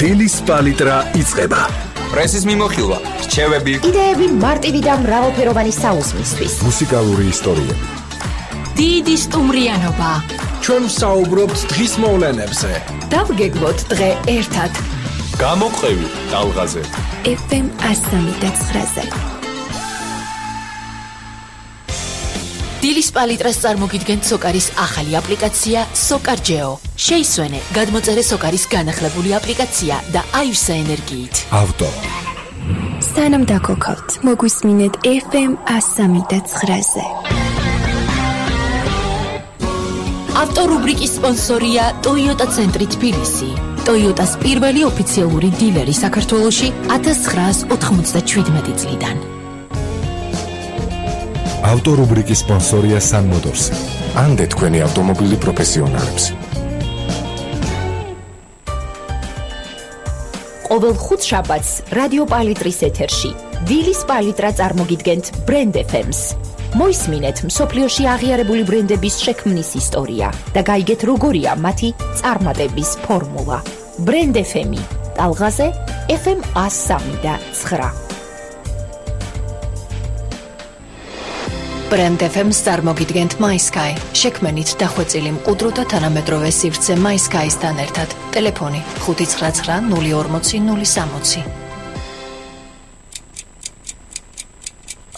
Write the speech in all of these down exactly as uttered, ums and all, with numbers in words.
დილის პალიტრა იწყება. პრესის მიმოხილვა, რჩევები, იდეები მარტივი და მრავალფეროვანი საუზმისთვის. მუსიკალური ისტორიები. დიდი სტუმრიანობა. ჩვენ ვსაუბრობთ დღის მოვლენებზე. დავგეგმოთ დღე ერთად. გამოყევი ტალღაზე. ეფ ემ ასამი და ცხრაზე. დილის პალიტრას წარმოგიდგენთ სოკარის ახალი აპლიკაცია SOCARGEO. შეისვენე, გადმოწერე სოკარის განახლებული აპლიკაცია და აივსე ენერგიით. ავტო. სანამ დაგოქავთ, მოგვისმინეთ ეფ ემ ასამი და ცხრაზე. ავტორუბრიკის სპონსორია Toyota ცენტრი თბილისი. Toyotas პირველი ოფიციალური დილერი საქართველოში ათას ცხრაას ოთხმოცდაშვიდმეტი წლიდან. ავტორუბრიკის სპონსორია Sun Motors. ანდე თქვენი ავტომობილი პროფესიონალებს. ყოველ ხუთშაბათს რადიო პალიტრის ეთერში დილის პალიტრა წარმოგიდგენთ ბრენდ ეფ ემს. მოისმინეთ მსოფლიოში აღიარებული ბრენდების შექმნის ისტორია და გაიგეთ როგორია მათი წარმატების ფორმულა. ბრენდ ეფ ემი, ტალღაზე ეფ ემ ასამი და ცხრა. ბრენდ ეფ ემს წარმოგიდგენთ MySky. შექმენით დახვეწილი მყუდრო და თანამედროვე სივრცე MySky-სთან ერთად. ტელეფონი ხუთი ცხრა ცხრა ნული ორმოცი ნული სამოცი.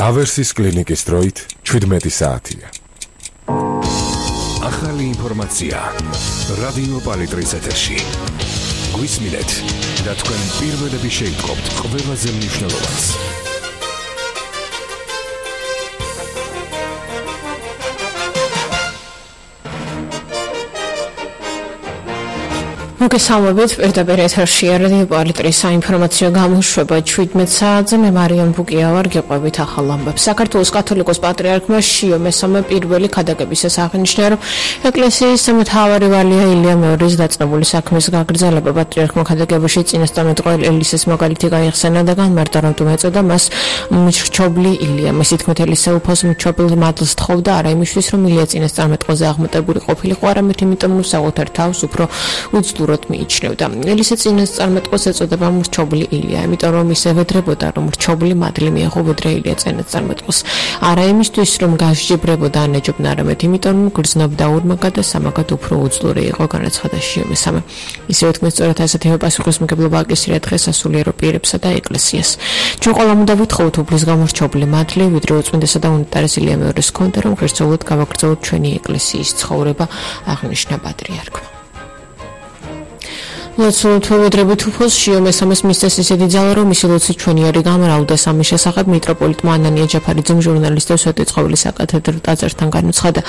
ავერსის კლინიკის დროით შვიდმეტი საათია. ახალი ინფორმაცია რადიო პალიტრის ეთერში. გვისმინეთ და თქვენ პირველები შეიტყობთ ყველაზე მნიშვნელოვანს. მოგესალმებით, პირდაპირ ეთერშია რადიო პალიტრის საინფორმაციო გამოშვება შვიდმეტ საათზე. მე მარიამ ბუკია ვარ, გიყვებით ახალ ამბებს. საქართველოს კათოლიკოს პატრიარქმა შიო მესამე პირველი ქადაგებისას აღნიშნა, რომ ეკლესიის მთავარი ვალია ილია მეორის დაწყებული საქმის გაგრძელება. პატრიარქმა ქადაგებაში წინასწარმეტყველ ელისეს მაგალითი გაიხსენა და განმარტა, რომ თუ ეწოდა მას მრჩობლი ილია. მისი თქმით, ელისე უფოს მრჩობლ მადლს თხოვდა არა იმისთვის, რომ ილია წინასწარმეტყველზე აღმატებული ყოფილიყო, არამედ იმიტომ, რომ საკუთარ თავს უფრო უძლუროდ მიიჩნევდა. ელისე წინასწარმეტყველს ეწოდება მრჩობლი ილია, იმიტომ რომ ის ევედრებოდა, რომ მრჩობლი მადლი მიეღო ვიდრე ილია წინასწარმეტყველს. არა იმისთვის, რომ გასჯიბრებოდა ან ეჯობნა, არამედ იმიტომ, რომ გრძნობდა ორმაგად და სამაგად უფრო უძლური იყო, განაცხადა შიო მესამე. ისევე თქმის სწორად ასეთივე პასუხისმგებლობა აკისრია დღეს სასულიერო პირებსა და ეკლესიას. ჩვენ ყველამ უნდა ვითხოვოთ უფლის გამორჩობლი მადლი, ვიდრე უწმინდესა და უნიტარესი ილია მეორის ჰქონდა, რომ ღირსეულად გავაგრძელოთ ჩვენი ეკლესიის ცხოვრება, აღნიშნა პატრიარქმა. ლოცვით ვედრებით უფოს შიო მესამეს მისცეს ისეთი ძალა, რომ მისი ლოცვით ჩვენიერი გამრავლდა. სამის შესახებ მიტროპოლიტმა ანანია ჯაფარიძემ ჟურნალისტებს სვეტი წყობილის საკათედრო ტაძართან განუცხადა.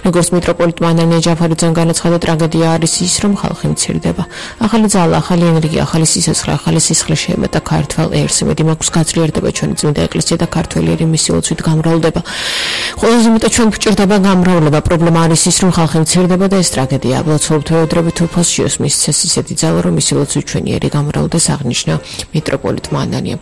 როგორც მიტროპოლიტმა ანანია ჯაფარიძემ განაცხადა, ტრაგედია არის ის, რომ ხალხი მცირდება. ახალი ძალა, ახალი ენერგია, ახალი სიცოცხლე, ახალი სისხლი შეემატა ქართველ ერს. იმედი მაქვს გაძლიერდება ჩვენი წმინდა ეკლესია და ქართველიერი მისი ლოცვით გამრავლდება. ყველაზე მეტად ჩვენ გვჭირდება გამრავლება. პრობლემა არის ის, რომ ხალხი მცირდება და ეს ტრაგედია. ლოცვით ვედრებით უფოს შიოს მისცეს ისეთი ძალა, რომ მისი ლოცვით ჩვენიერი გამრავლდეს, აღნიშნა მიტროპოლიტმა ანანია.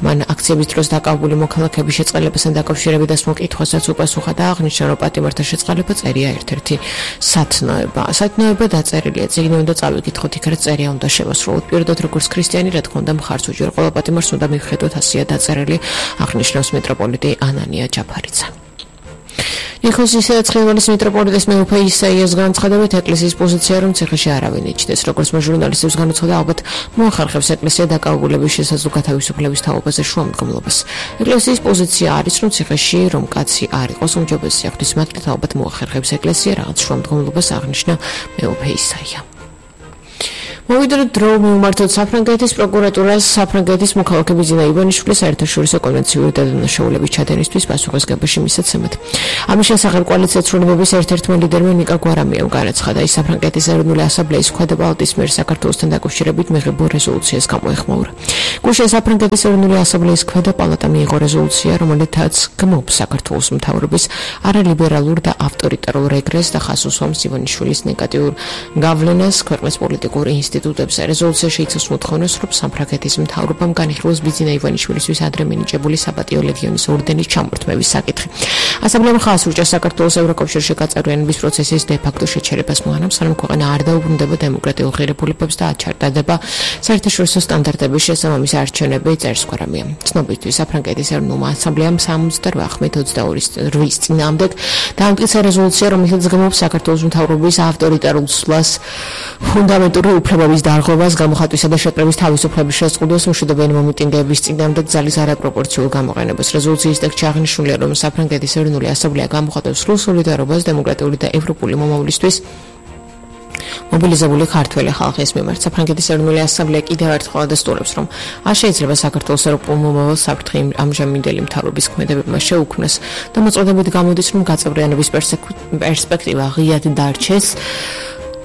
მან აქციების დროს დაკავებული მოქალაქეების შეწყალებასთან დაკავშირებით დასმულ კითხვასაც უპასუხა და აღნიშნა, რომ პატიმართა შეწყალება წერია ერთ-ერთი სათნოება. სათნოება დაწერილია, წიგნი უნდა წავიკითხოთ, იქაც წერია უნდა შევასრულოთ. პირდოთ როგორც ქრისტიანი, რა თქმა უნდა, მხარს უჭერ ყველა პატიმარს უნდა მივხედოთ, ასია დაწერილი, აღნიშნავს მიტროპოლიტი ანანია ჯაფარიძე. ნიქოზის ცხინვალის მიტროპოლიტის მეუფე ისაიას განცხადებით, ეკლესიის პოზიცია, რომ ციხეში არავინ იჩნდეს. როგორც ჟურნალისტებს განუცხადა, ალბათ მოახერხებს ეკლესია დაკავებულების შესაძლო გათავისუფლების თაობაზე შუამდგომლობას. ეკლესიის პოზიცია არის, რომ ციხეში რომ კაცი არ იყოს უმჯობესი ღვთისმადლით, ალბათ მოახერხებს ეკლესია რაღაც შუამდგომლობას, აღნიშნა მეუფე ისაია. მოვიდა დრო მიმართოთ საფრანგეთის პროკურატურას საფრანგეთის მოქალაქეების ძინა ივანიშვილის საერთაშორისო კონვენციური დადანაშაულების ჩადენისთვის პასუხისმგებაში მისაცემად. ამის შესახებ კოალიციას ცვლილებების ერთ-ერთმა ლიდერმა ნიკა გვარამიამ განაცხადა, ის საფრანგეთის ეროვნული ასამბლეის ქვედა პალატის მიერ საქართველოსთან დაკავშირებით მიღებულ რეზოლუციას გამოეხმაურა. გუშინ საფრანგეთის ეროვნული ასამბლეის ქვედა პალატა მიიღო რეზოლუცია, რომელთაც გმობს საქართველოს მთავრობის არალიბერალურ და ავტორიტარულ რეგრესს და ხაზს უსვამს ივანიშვილის ნეგატიურ გავლენას ქვეყნის პოლიტიკურ ინსტიტუტებში ინსტიტუტებზე. რეზოლუცია შეიცავს მოთხოვნას, რომ სამფრანგეთის მთავრობამ განიხილოს ბიძინა ივანიშვილისთვის ადრე მინიჭებული საპატიო ლეგიონის ორდენის ჩამორთმევის საკითხი. ასამბლეამ ხაზს ურჭა საქართველოს ევროკავშირში გაწევრიანების პროცესის დე-ფაქტო შეჩერებას მოანამ, სანამ ქვეყანა არ დაუბრუნდება დემოკრატიულ ღირებულებებს და აჩარდადება საერთაშორისო სტანდარტების შესაბამისი არჩევნები წერს გვარამია. ცნობისთვის საფრანგეთის ეროვნულმა ასამბლეამ სამოცდაოთხი ოცდაორის წინააღმდეგ დაამტკიცა რეზოლუცია, რომელშიც გმობს საქართველოს მთავრობის ავტორიტარულ სვლას, ფუნდამენტური უფლებების დარღვევას, გამოხატვისა და შეტყვის თავისუფლების შეზღუდვას, მშვიდობიანი მომიტინგეების წინააღმდეგ ძალის არაპროპორციულ გამოყენებას. რეზოლუციის ტექსტში აღნიშნულია, რომ საფრანგეთის ეროვნული ასამბლეა გამოხატავს სრულ სოლიდარობას დემოკრატიული და ევროპული მომავლისთვის მობილიზებული ქართველი ხალხის მიმართ. საფრანგეთის ეროვნული ასამბლეა კიდევ ერთხელ ადასტურებს, რომ არ შეიძლება საქართველოს ევროპულ მომავალს საფრთხე ამჟამინდელი მთავრობის ქმედებებმა შეუქმნას და მოწოდებით გამოდის, რომ გაწევრიანების პერსპექტივა ღიად დარჩეს.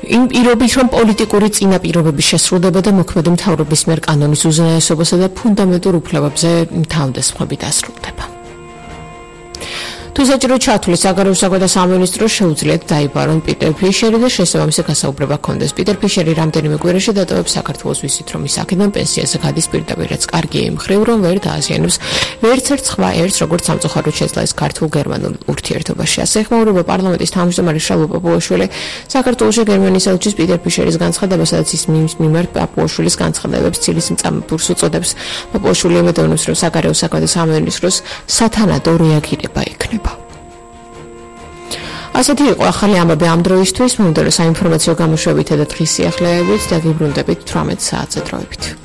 იმ პირობით, რომ პოლიტიკური წინაპირობების შესრულება და მოქმედი მთავრობის მიერ კანონის უზენაესობასა და ფუნდამენტურ უფლებებზე თავდასხმები დასრულდება. თუ საჭირო ჩათვლის საგარეო საქმეთა სამინისტრო შეუძლიათ დაიბარონ პიტერ ფიშერი და შესაბამისი გასაუბრება ჰქონდეს. პიტერ ფიშერი რამდენიმე კვირაში დატოვებს საქართველოს ვიზით, რომ ის აქედან პენსიაზე გადის პირდაპირ, რაც კარგია იმ მხრივ, რომ ვერ დააზიანებს ვერც ერთ სხვა ერთს, როგორც სამწუხაროდ შეძლო ეს ქართულ-გერმანულ ურთიერთობაში. ასე ეხმაურება პარლამენტის თავმჯდომარე შალვა პაპუაშვილი საქართველოში გერმანიის ელჩის პიტერ ფიშერის განცხადება, სადაც ის მის მიმართ პაპუაშვილის განცხადებებს ცილის მწამებურს უწოდებს. პაპუაშვილი ემედოვნებს, რომ საგარეო საქმეთა სამინისტროს სათანადო რეაგირება ექნება. ასეთი იყო ახალი ამბები ამ დროისთვის. მომდევნო საინფორმაციო გამოშვებითა და დღის სიახლეებით დაგიბრუნდებით თვრამეტ საათზე დროებით.